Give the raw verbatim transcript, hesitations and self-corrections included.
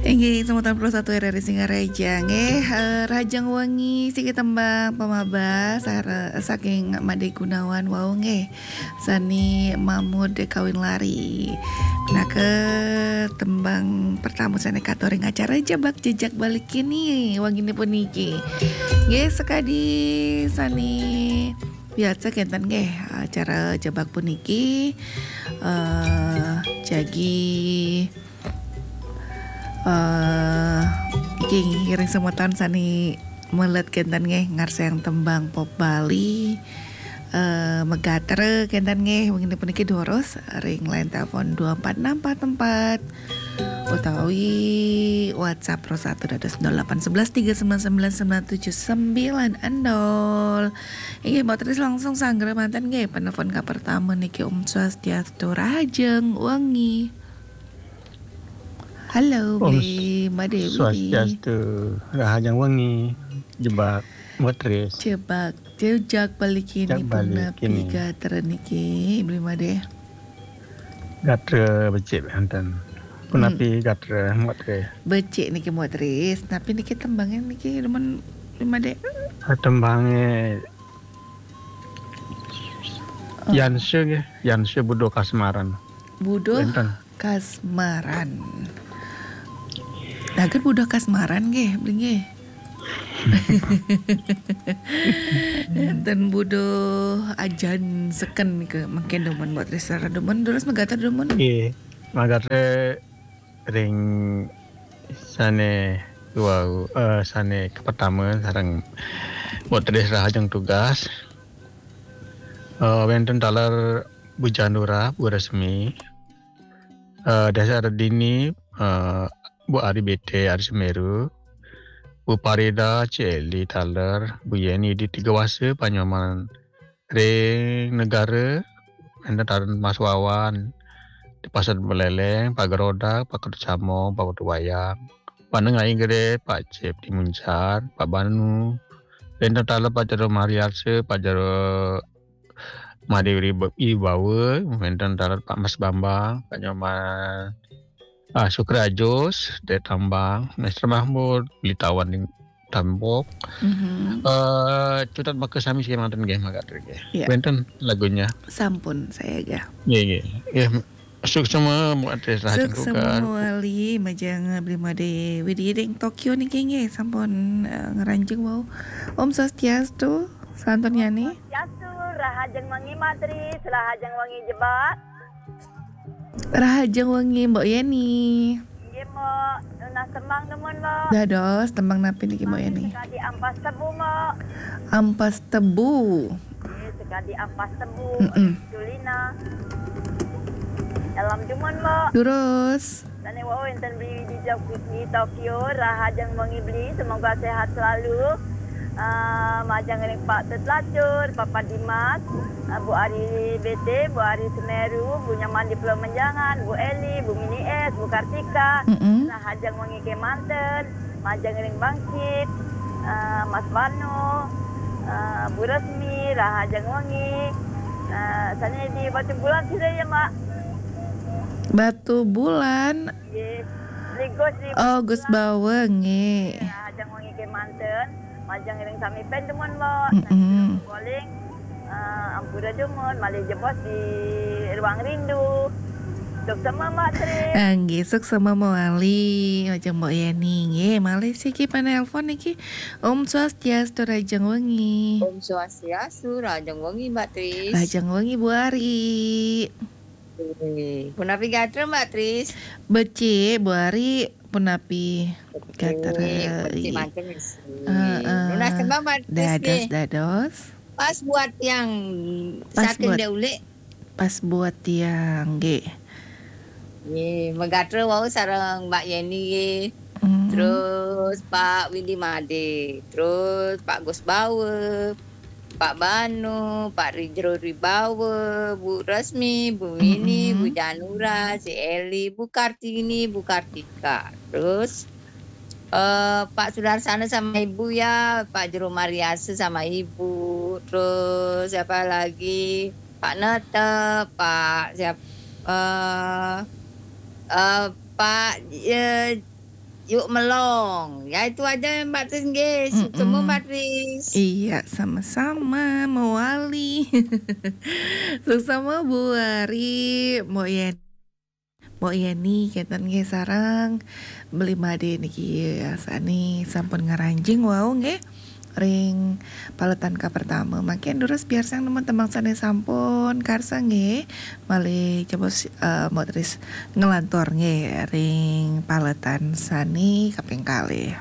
Inggih, semeton Pro satu R R I Singaraja nggih, eh, Rahajeng Wengi siki tembang pamaba sare-, saking Made Gunawan wau nggih. Sane Mamud Kawin Lari. Pinaka tembang pertama sane katur ring acara Jebak Jejak Bali kini wengine puniki. Nggih, sakadi sane biasa kenten nggih acara jebak puniki, eh, jagi Eh, iki ngiring semeton sane melet kenten nggih ngarsayang tembang pop Bali. Eh, magatra kenten nggih wengine puniki durus ring line telepon dua empat enam empat empat utawi WhatsApp Pro satu dados nol delapan sebelas tiga sembilan sembilan sembilan tujuh sembilan nol. Inggih, Mbok Tris langsung sanggra manten nggih penelpon ka pertama niki. Om Swastiastu, Rahajeng Wengi. Halo, Om Bli Made Widi. Swastiastu, Rahajeng Wengi, Jebak, Mbok Tris. Jebak, Jejak Bali kini, Jejak Bali punapi kini. Gatra niki, Bli Made? Gatra becik enten. Punapi Hmm. Gatra, Mbok Tris? Becik niki, Mbok Tris. Tapi niki tembangnya niki demen, Bli Made? Ah, tembangnya Oh. Yanse nggih, Yanse Budo Kasmaran. Budo Enten. Kasmaran. Naget Budo Kasmaran nggih, Bli nggih. Enten Budo Ajan seken ke mangkin demen Mbok Tris sara demen, terus magatra demen. Nggih, magatra ring sane wau, eh, sane kapertama sareng Mbok Tris Rahajeng Tugas. Eh, wenten taler Bu Janura, Bu Resmi, eh, Desa Redini, eh, Bu Ari B T, Ari Semeru, Bu Parida, Ci Eli taler, Bu Yeni di Tiga Wase, Panyoman ring Negara, wenten taler Mas Wawan, di Pasar Beleleng, Pak Gerodak, Pak Ketucamo, Pak Ketuwayang, Pak Nengai Gede, Pak Cip di Muncar, Pak Banu, wenten taler Pak Jero Mariarse, Pak Jero Madewiri Ibawa, wenten taler Pak Mas Bambang, Pak Nyoman, ah, Sukrajos, Dek Tambang, Mister Mahmud, Beli Tawan di Tambok. Mhm. Eh, cutet maka sami siki manten nggih, magatra nggih. Iya. Wenten lagunya. Sampun, saya aja. Nggih, nggih. Nggih, suksema Mbok Tris Rahajeng Tugas. Suksema mawali, majeng Bli Made Widi ring Tokyo niki nggih, sampun, eh, ngranjing wau. Om Swastiastu, Santurnyani. Swastiastu, Rahajeng Wengi Mbok Tris, Rahajeng Wengi Jebak. Rahajeng Wengi Mbok Yeni. Nggih, Mbok. Nunas tembang demen, Mbok. Dados, tembang napi niki, Mbok Yeni? Sekadi Ampas Tebu, Mbok. Ampas Tebu. Nggih, sekadi Ampas Tebu, Mm-mm. Tulina. Dalam demen, Mbok. Terus. Sane wau wenten Bli di Tok-, di Tokyo, Rahajeng Wengi Bli, semoga sehat selalu. Eh, majeng ring Pak Tut Lacur, Papa Dimas, eh, Bu Ari B T, Bu Ari Semeru, Bu Nyaman di Pulau Menjangan, Bu Eli, Bu Mini S, Bu Kartika, Mm-mm. Rahajeng Wengi kemanten, majeng ring Bangkit, eh, Mas Bano, eh, Bu Resmi, Rahajeng Wengi, eh, sane di Batu Bulan sira ya, Mbok. Batu Bulan. Nggih. Beli Gus, Beli Oh, Gus Bulan. Bawa, nggih. Rahajeng Wengi kemanten. Majeng ring sami pen demen, Mbok. Mm-mm. Sami calling, eh, ampura demen, malih jebos di ruang rindu. Suksema, Mbok Tris. Ah, nggih, suksema mawali, majeng Mbok Yeni, nggih. Malih siki penelpon niki. Om Swastiastu, Rahajeng Wengi. Om Swastiastu, Rahajeng Wengi, Mbok Tris. Rahajeng Wengi, Bu Ari. Nggih. Punapi gatra, Mbok Tris? Becik, Bu Ari, punapi gatra. Becik, becik manten, Miss. Heeh. Nunas tembang, Mbok Tris, dados, nggih. Dados. Pas buat tiang Pas saking buat, Dek Ulik. Pas buat tiang, nggih. Nggih, magatra wau sareng Mbok Yeni, nggih. Hmm. Terus Pak Windy Made, terus Pak Gus Bawa, Pak Banu, Pak Rijro Ribawa, Bu Resmi, Bu Mini, Mm-mm. Bu Janura, si Eli, Bu Kartini, Bu Kartika. Terus, eh, Pak Sudarsana sama Ibu ya, Pak Jero Mariasa sama Ibu. Terus siapa lagi? Pak Nete, Pak siap-, eh, eh, Pak, eh, Yuk melong. Ya, itu aja, Mbak Tris, nggih. Sukses, Mbak Tris. Iya, sama-sama, mawali. Suksma Bu Ari, Mbok Yeni. Mbok Yeni, kenten nggih, sareng Beli Made niki, ya, sani sampun ngaranjing wau nggih. Ring paletan kapertama. Mangkin durus biar sang nemu tembang sane sampun karsa nggih. Malih coba si- eh, Mbok Tris ngelantur nggih ring paletan sani kaping kalih.